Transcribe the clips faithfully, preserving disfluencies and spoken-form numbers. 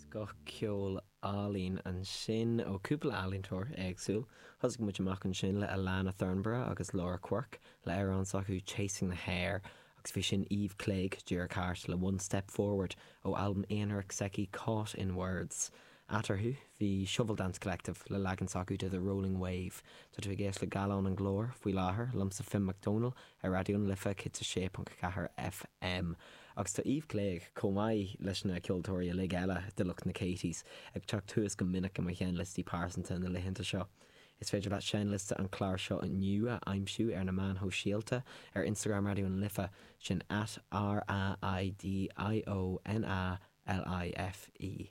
Scoth ceoil álainn ansin ó cúpla ealaíontóir éagsúil. Thosaigh muid amach ansin le Alana Thornborough agus Laura Quirk le amhrán s'acu Chasing the Hare, agus bhí sin Eve Clegg díreach thart le One Step Forward ó albam aonarach s'aici Caught in Words. Eatarthu bhí Shovel Dance Collective le leagan s'acu de The Rolling Wave. Tá tú ag éisteacht le Gallán an Glóir faoi láthair liomsa Finn Mac Dónaill ar Raidió na Life céad a sé ponc ceathair FM. Agus tá Eve Clegg chomh maith leis na ceoltóirí uilig eile de lucht na Katies ag teacht thuas go minic i mo sheinnliostaí pearsanta na laethanta seo. Is féidir leat seinnliosta an chláir seo inniu a aimsiú ar na meáin shóisialta ar Instagram Raidió na Life sin at R A I D I O N A L I F E.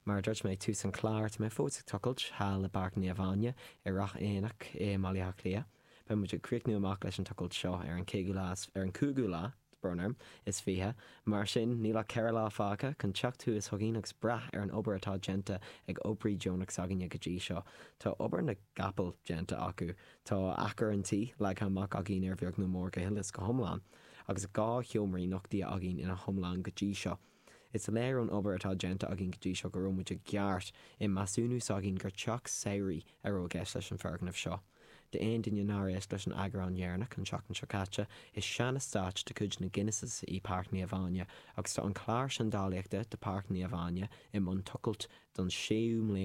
Mar dúirt mé tús an chláir tá mé fós ag tochailt thall i bPáirc Naomh Áine i Ráth Éanach i mBaile Átha Cliath. Beidh muid ag críochnú amach leis an tochailt seo ar an chéú lá ar an cúigiú lá brón orm is fiche, mar sin níl ach ceithre lá fágtha chun teacht thuas chugainn agus brath ar an obair atá déanta ag oibrí deonach s'againne go dtí seo. Tá obair na gcapall déanta acu, Tá achar an tí leagtha amach againn ar bheag nó mór go huile is go hiomlán, agus dhá sheomraí nochtaithe againn ina hiomlán go dtí seo. Is léir ón obair atá déanta againn go dtí seo go raibh muid i gceart i measúnú s'againn gur teach samhraidh a raibh i gceist leis an foirgneamh seo. D'aon duine nár éist leis an eagrán dheireanach an tseachtain seo caite, is sean-eastát de chuid na Guinnesses í Páirc Naomh Áine, agus tá an clár seandálaíochta de Páirc Naomh Áine i mbun tochailt don séú mbliain